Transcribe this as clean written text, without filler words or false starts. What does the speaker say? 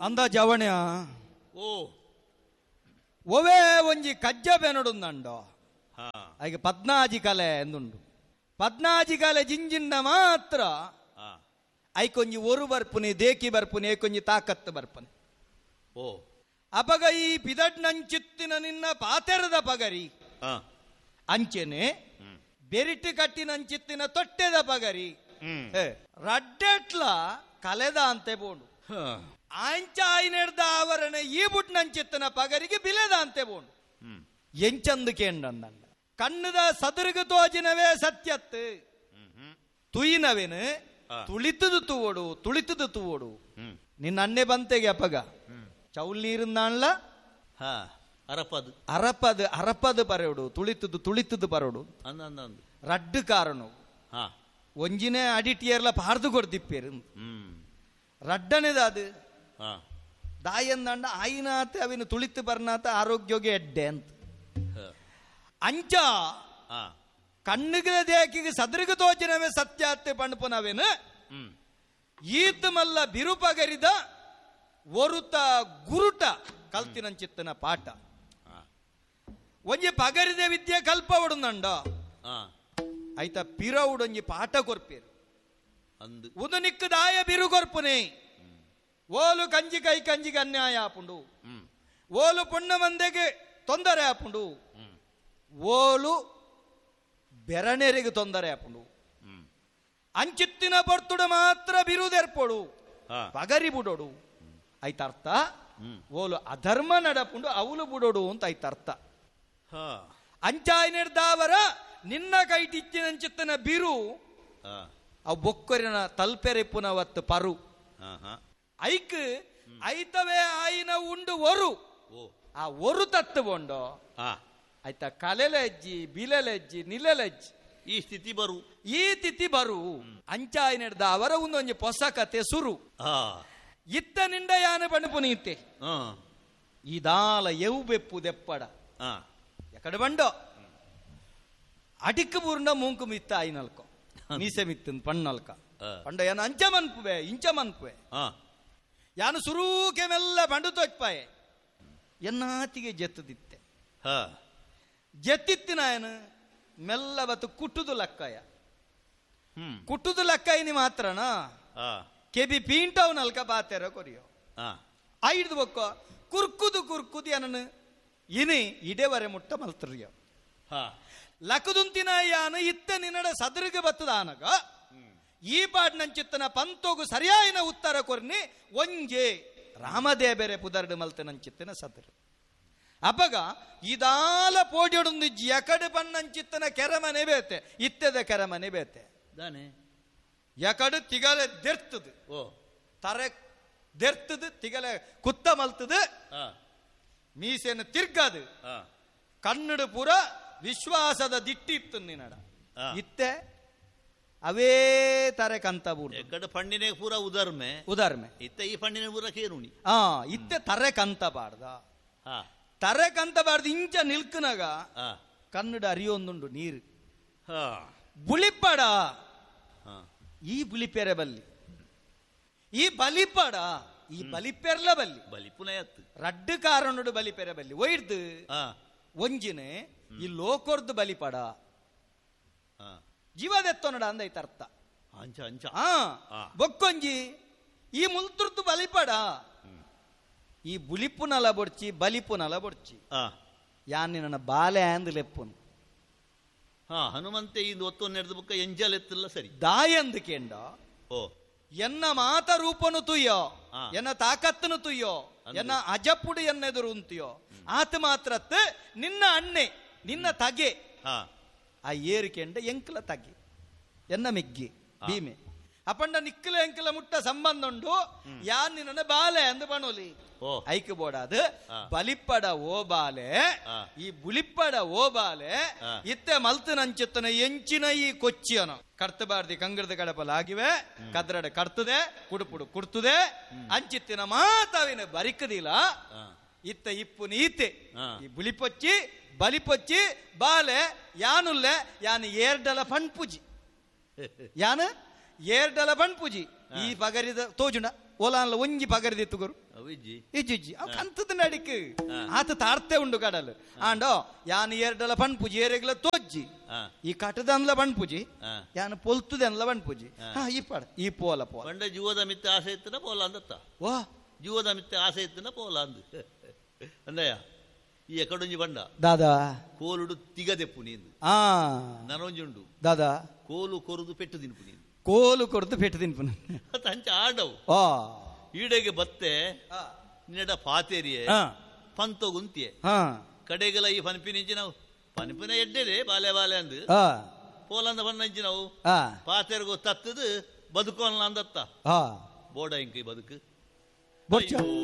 ಅಂದ ಜವಣ್ಯ ಓ ಒವೇ ಒಂಜಿ ಕಜ್ಜ ಬೆನಡುಂದಂಡೋ ಐಗೆ ಪದ್ನಾಜಿ ಕಲೆ ಎಂದುಂಡು. ಪದ್ನಾಜಿ ಕಲೆ ಜಿಂಜಿಂಡ ಮಾತ್ರ ಐಕೊಂಜಿ ಒರು ಬರ್ಪುನಿ ದೇಕಿ ಬರ್ಪುನಿ ಐಕೊಂಜಿ ತಾಕತ್ತು ಬರ್ಪುನಿ. ಓ ಅಪಗ ಈ ಪಿದಡ್ನಂಚಿತ್ತಿನ ನಿನ್ನ ಪಾತೆರದ ಪಗರಿ ಅಂಚೆನೆ ಬೆರಿಟು ಕಟ್ಟಿನಂಚಿತ್ತಿನ ತೊಟ್ಟೆದ ಪಗರಿ ರಡ್ಡೆಟ್ಲ ಕಲೆದ ಅಂತೆ ಬೋಂಡು ಆಂಚ ಆಯ್ನೆಡ್ದ ಆವರಣ ಈ ಬುಟ್ನಂಚಿತ್ತಿನ ಪಗರಿಗೆ ಬಿಲೆದ ಅಂತೆ ಬೋಂಡು. ಎಂಚಂದು ಕೇಂಡಂದ ಕಣ್ಣದ ಸದರ್ಗ ತೋಜಿನವೇ ಸತ್ಯತ್ತು ತುಯಿನವೇನು ತುಳಿತದು ತೂವೋಡು ತುಳಿತದು ತೂವೋಡು. ನಿನ್ನ ಅಣ್ಣೆ ಬಂತೆಗೆ ಅಪಗ ಚೌಲ್ ನೀರುಂದಾಣ್ಲ ಅರಪದು ಅರಪದು ಅರಪದು ಪರೋಡು ತುಳಿತದು ತುಳಿತದು ಪರೋಡು. ರಡ್ಡು ಕಾರಣ ಒಂಜಿನೇ ಅಡಿಟಿಯರ್ಲ ಪಾರ್ದು ಕೊಡ್ತಿಪ್ಪೇರು ರಡ್ಡನೇದ ಅದು ದಾಯಂದಂಡ ಆಯಿನಾತ ಅವಿನ ತುಳಿತು ಬರ್ನಾತ ಆರೋಗ್ಯೋಗೆ ಎಡ್ಡೆ ಅಂತ. ಅಂಚ ಕಣ್ಣುಗಳ ದೇಕಿಗೆ ಸದರಿಗ ತೋಚಿನವೇ ಸತ್ಯಾತ್ತೆ ಪಣಪುನವೇನು ಈತ ಮಲ್ಲ ಬಿರುಪಗರಿದ ಒರುತ ಗುರುಟ ಕಲ್ತಿನಂಚಿತ್ತನ ಪಾಠ. ಒಂಜಿ ಪಗರಿದ ವಿದ್ಯೆ ಕಲ್ಪ ಒಡುಂದಂಡ ಆಯ್ತಾ ಪಿರವುಡೊಂಜಿ ಪಾಠ ಕೊರ್ಪೇರು ಉದು ನಿಕ್ಕದಾಯ ಬಿರು ಕೊರ್ಪುನೆ ಓಲು ಕಂಜಿ ಕೈ ಕಂಜಿಗೆ ಅನ್ಯಾಯ ಆಪುಂಡು, ಓಲು ಪುಣ್ಣ ಮಂದೆಗೆ ತೊಂದರೆ ಆಪುಂಡು, ಓಲು ಬೆರನೆರಿಗೆ ತೊಂದರೆ ಆಪುಂಡು. ಅಂಚಿತ್ತಿನ ಬರ್ತುಡು ಮಾತ್ರ ಬಿರುದೆರ್ಪೊಡು ಪಗರಿ ಬುಡೋಡು ಆಯ್ತರ್ಥ. ಓಲು ಅಧರ್ಮ ನಡಪುಂಡು ಅವಲು ಬುಡೋಡು ಅಂತ ಆಯ್ತರ್ಥ. ಅಂಚಾಯ್ನೆಡ್ದಾವರ ನಿನ್ನ ಕೈಟಿಚ್ಚಿನಂಚಿತ್ತನ ಬಿರು ಅವು ಬೊಕ್ಕರಿನ ತಲ್ಪೆರೆಪ್ಪುನವತ್ತು ಪರು ಐಕ್ ಐತವೇ ಆಯಿನ ಉಂಡು ಒರು ಆ ಒರು ತತ್ತುಗೊಂಡು ಆಯ್ತಾ ಕಲೆಲೆಜ್ಜಿ ಬಿಲೆಲೆಜ್ಜಿ ನಿಲೆಲೆಜ್ಜಿ ಈ ಸ್ಥಿತಿ ಬರು ಈ ತಿಥಿ ಬರು. ಅಂಚಾಯ್ನೆಡ್ದ ಅವರ ಒಂದೊಂಜಿ ಹೊಸ ಕತೆ ಸುರು. ಇತ್ತ ನಿಂಡ ಯಾನ ಪಣಪುನೀತೆ ಇದಾಲ ಎವು ಬೆಪ್ಪು ದೆಪ್ಪಡ ಎಕಡೆ ಬಂಡೋ ಅಡಿಕ್ ಬೂರ್ಣ ಮೂಂಕು ಮಿತ್ತ ಆಯ್ನಲ್ಕೊ ಮೀಸೆ ಮಿತ್ತನ್ ಪಣ್ಣಲ್ಕ ಪಂಡ ಯಾನ ಅಂಚ ಮನ್ಪುವೆ ಇಂಚ ಮನ್ಪುವೆ ಯಾನು ಸುರೂಕೆ ಮೆಲ್ಲ ಬಂಡು ತೋಚ್ಪಾಯೆ ಎನ್ನಾತಿಗೆ ಜೆತ್ತದಿತ್ತೆ ಜೆತ್ತಿತ್ತಿನ ಏನು ಮೆಲ್ಲ ಬತ್ತು ಕುಟ್ಟುದು ಲಕ್ಕಾಯ ಕುಟ್ಟುದು ಲಕ್ಕಾಯಿನಿ ಮಾತ್ರನಾ ಕೆಬಿ ಪೀಂಟವ್ ನಲ್ಕ ಬಾತೆರ ಕೊರಿಯೋ ಐದು ಬೊಕ್ಕ ಕುರ್ಕುದು ಕುರ್ಕುದು ಏನನು ಇನಿ ಇಡೆವರೆ ಮುಟ್ಟ ಮಲ್ತರಿಯೋ ಲಕದುಂತಿನ ಯಾನು ಇತ್ತ ನಿನ್ನಡ ಸದರಿಗೆ ಬತ್ತದಾನಗ ಈ ಪಾಡ್ನಂಚಿತ್ತನ ಪಂತೋಗು ಸರಿಯಾಯಿನ ಉತ್ತರ ಕೊರ್ನಿ ಒಂಜೆ ರಾಮದೇಬೆರೆ ಪುದರ್ಡು ಮಲ್ತನಂಚಿತ್ತನ ಸದರು. ಅಪಗ ಇದಾಲ ಪೋಡಿಯೊಡೊಂದು ಎಕಡೆ ಪಣ್ಣಂಚಿತ್ತನ ಕೆರಮನೆ ಬೇತೆ ಇತ್ತದ ಕೆರಮನೆ ಬೇತೆ ದಾನೆ ಎಕಡು ತಿಗಲೆ ದೆರ್ತದು ಓ ತರೆ ದೆರ್ತದು ತಿಗಲೆ ಕುತ್ತ ಮಲ್ತದು ಮೀಸೆಯನ್ನು ತಿರ್ಗದು ಕನ್ನಡ ಪೂರ ವಿಶ್ವಾಸದ ದಿಟ್ಟಿತ್ತು ನಿನ್ನಡ ಇತ್ತೆ ಅವೇ ತಾರೆ ಕಂತ ಎಕಡೆ ಪಣ್ಣಿನೇ ಪೂರ ಉದರ್ಮೆ ಉದರ್ಮೆ ಇತ್ತೆ ಈ ಪಣ್ಣಿನ ಪೂರ ಕೇರುಣಿ ಇತ್ತೆ ತರೆ ಕಂತ ಬಾರ್ದ ತರೆ ಕಂತ ಬಾರ್ದು ಇಂಚ ನಿಲ್ಕನಾಗ ಕನ್ನಡ ಅರಿಯೊಂದುಂಡು ನೀರು ಬುಳಿಪಡ ಈ ಬುಲಿಪೆರೆ ಬಲ್ಲಿ ಈ ಬಲಿಪಡ ಈ ಬಲಿಪೆರ್ಲ ಬಲ್ಲಿ ಬಲಿಪುನಯತ್ತು ರಡ್ಡು ಕಾರಣಡು ಬಲಿಪೆರೆ ಬಲ್ಲಿ ಒಯ್ದು ಒಂಜಿನೆ ಈ ಲೋಕೊರ್ದು ಬಲಿಪಡ ಜೀವದೆತ್ತೊನಡ ಅಂದೈತ ಅರ್ಥ. ಅಂಚ ಅಂಚ ಬೊಕ್ಕೊಂಜಿ ಈ ಮುಲ್ತುರ್ದು ಬಲಿಪಡ ಈ ಬುಲಿಪುನಲ ಬೊಡ್ಚಿ ಬಲಿಪುನಲ ಬೊಡ್ಚಿ ಯಾನ್ ನನ್ನ ಬಾಲೆ ಅಂದ್ ಲೆಪ್ಪುನು ಹನುಮಂತೆ ಈ ಒತ್ತು ನೆರೆದ ಬುಕ್ಕ ಎಂಜಲ್ ಎತ್ತಲ್ಲ ಸರಿ ದಾಯಂದು ಕೇಂಡ ಓ ಎನ್ನ ಮಾತ ರೂಪನು ತುಯ್ಯೋ ಎನ್ನ ತಾಕತ್ತನು ತುಯ್ಯೋ ಎನ್ನ ಅಜಪುಡು ಎನ್ನೆದುರು ಉಂತಿಯೋ ಆತ ಮಾತ್ರತ್ ನಿನ್ನ ಅಣ್ಣೆ ನಿನ್ನ ತಗೆ ಆ ಏರಿಕೆಂಡ ಎಂಕಲ ತಗೆ ಎನ್ನ ಮಿಗ್ಗಿ ಭೀಮೆ ಅಪಂಡ ನಿಕ್ಕಲ ಎಂಕಲ ಮುಟ್ಟ ಸಂಬಂಧ ಉಂಡು ಯಾನ್ ನಿನ್ನ ಬಾಲೆ ಅಂದು ಬಣೋಲಿ ಐಕ್ ಬೋಡಾದು ಬಲಿಪ್ಪಡ ಓ ಬಾಲೆ ಈ ಬುಲಿಪ್ಪಡ ಓ ಬಾಲೆ ಇತ್ತೆ ಮಲ್ತನಂಚಿತ್ತನ ಎಂಚಿನ ಈ ಕೊಚ್ಚಿಯನ ಕರ್ತಬಾರ್ದಿ ಕಂಗ್ರದ ಕಡಪಲಾಗಿವೆ ಕದ್ರಡೆ ಕರ್ತದೆ ಕುಡುಪುಡು ಕುಡ್ತದೆ ಅಂಚಿತ್ತಿನ ಮಾತಾವಿನ ಬರಿಕದಿಲ್ಲ ಇತ್ತ ಇಪ್ಪು ನೀತೆ ಈ ಬುಲಿಪೊಚ್ಚಿ ಬಲಿಪೊಚ್ಚಿ ಬಾಲೆ ಯಾನುಲ್ಲೆ ಯಾನು ಏರ್ಡಲ ಪಣ್ಪುಜಿ ಯಾನು ಏರ್ಡಲ ಪಣ್ಪುಜಿ ಈ ಪಗರಿದ ತೋಜುಣ ಓಲಾನ್ಲ ಒಂಜಿ ಪಗರಿದಿತ್ತು ಗುರು. ಅವಿಜ್ಜಿ. ಇಜ್ಜಿ ಅವ್ ಕಂತದ ನಡಿಕ್ ಆತ ತಾರ್ತೆ ಉಂಡು ಕಡಲ್ ಆಂಡೋ ಯಾನ್ ಏರ್ಡಲ ಪನ್ಪುಜಿ, ಏರೆಗ್ಲ ತೋಜ್ಜಿ, ಈ ಕಟದನ್ಲ ಪನ್ಪುಜಿ, ಯಾನ್ ಪೊಲ್ತುದನ್ಲ ಪನ್ಪುಜಿ. ಈ ಪಾಡ ಈ ಪೋಲ ಪೋಲ ಪಂಡ ಜೀವದ ಮಿತ್ತ ಆಸೆ ಇತ್ತನ ಪೋಲ ಅಂದತ್ತ. ವಾ ಜೀವದ ಮಿತ್ತ ಆಸೆ ಇತ್ತನ ಪೋಲ ಅಂದು ಅಂದಯ್ಯ. ಈ ಎಕಡೊಂಜಿ ಬಂಡ ದಾದಾ ಕೋಲುಡು ತಿಗದೆಪ್ಪು ನೀಂದು ನನೊಂಜಿ ಉಂಡು ದಾದಾ ಕೋಲು ಕೊರುದು ಪೆಟ್ಟು ತಿನ್ಪು ನೀನು. ಕೋಲು ಕೊರದು ಪೆಟ್ಟು ತಿನ್ಪು ಅಂಚ ಆಡವು. ಈಡೆಗೆ ಬತ್ತೆ ನಿನ್ನಡ ಪಾತೇರಿಯೆ ಪಂತೊಗುಂತಿಯೆ ಕಡೆಗೆಲ್ಲ ಈ ಪನ್ಪಿನಿಂಚಿ ನಾವು ಪನ್ಪಿನ ಎಡ್ಡೆದೆ ಬಾಲೆ ಬಾಲೆ ಅಂದು ಪೋಲಂದ ಬಣ್ಣಂಚಿ ನಾವು ಪಾತೇರಿಗೂ ತತ್ತದು ಬದುಕೋಲ್ಲ ಅಂದತ್ತ. ಬೋಡ ಇಂಕ ಬದುಕು.